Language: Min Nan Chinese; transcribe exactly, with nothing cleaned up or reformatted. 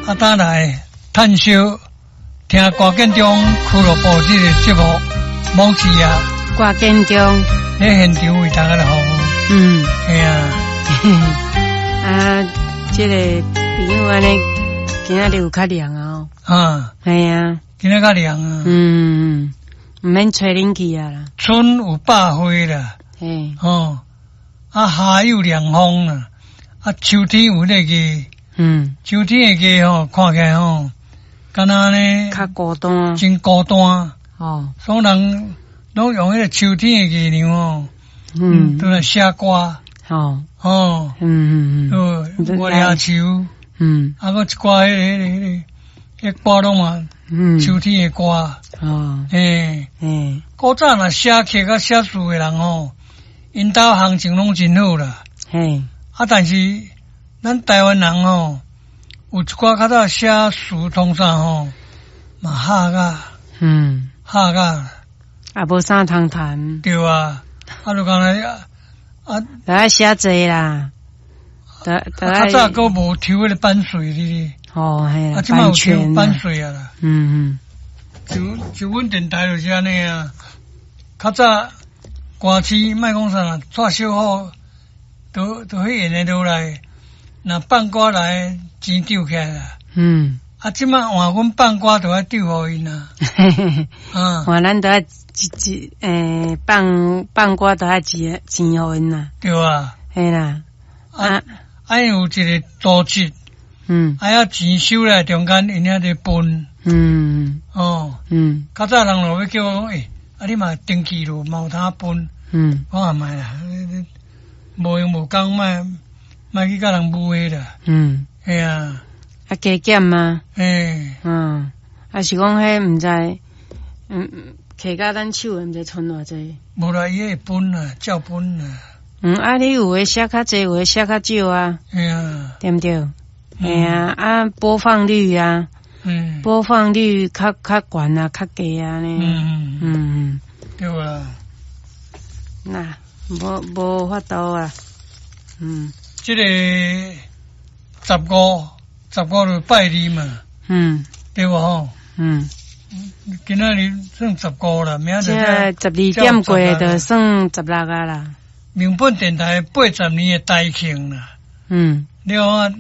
啊，轉來趁燒聽歌建中俱樂部這个節目，某次啊，歌建中喺現場為大家來服務。嗯，係啊，啊，這个朋友按呢，今仔日有較涼啊。啊，係啊，今仔較涼啊。嗯，毋免吹冷氣啊啦。春有百花啦，嘿，哦，啊夏有涼風啦，啊秋天有那个，嗯，秋天的個吼，看起來吼，敢若呢，較孤單，真孤單。哦，所以人攏用彼个秋天的月亮吼，嗯，都來寫歌。哦，哦，嗯嗯嗯，月牙秋，嗯，啊，閣一寡彼个彼个彼个，彼歌攏嘛，嗯，秋天的歌，哦，嘿，嘿，古早若寫曲佮寫詞的人吼，𪜶兜行情攏真好啦。嘿，啊，但是咱台灣人吼，有一寡較早寫詞通啥吼，嘛哈甲，嗯，哈甲，啊，無啥通談。對啊，啊，就敢若啊，著愛寫濟啦，著較早閣無抽彼个版稅哩。哦，嘿，啊，這擺有抽版稅啊啦。嗯嗯。就就阮電台就是按呢啊，較早歌星莫講啥啦，蔡小虎都都彼演的落來，若放歌來錢丟起來啦。嗯。啊，這擺換阮放歌就愛丟予𪜶啊。啊。換咱著愛一一欸放放歌著愛錢錢予𪜶啦。對啊。嘿啦。啊啊，有一個組織。嗯。啊，遐錢收來中間，𪜶遐咧分。嗯。哦。嗯。較早人就欲叫我講，欸，啊你嘛登記咯，嘛有通分。嗯。我也莫啦，無閒無工，莫莫去佮人舞啦。嗯。嘿啊。啊，加減嗎？嘿。嗯。啊是講彼毋知，嗯，摕甲咱手的毋知賰偌濟。無啦，伊會分啦，照分啦。嗯，啊，你有的寫較濟，有的寫較少啊。嘿啊。對毋對？嘿啊，啊，播放率啊，嗯，播放率較較懸啊，較低啊呢。嗯嗯，對啊。那無無法度啊。嗯。這个十五，十五就拜二嘛。嗯。對無吼？嗯。今仔日算十五啦，明仔載十二點過就算十六啊啦。民本電台八十年的台慶啦。嗯。了啊，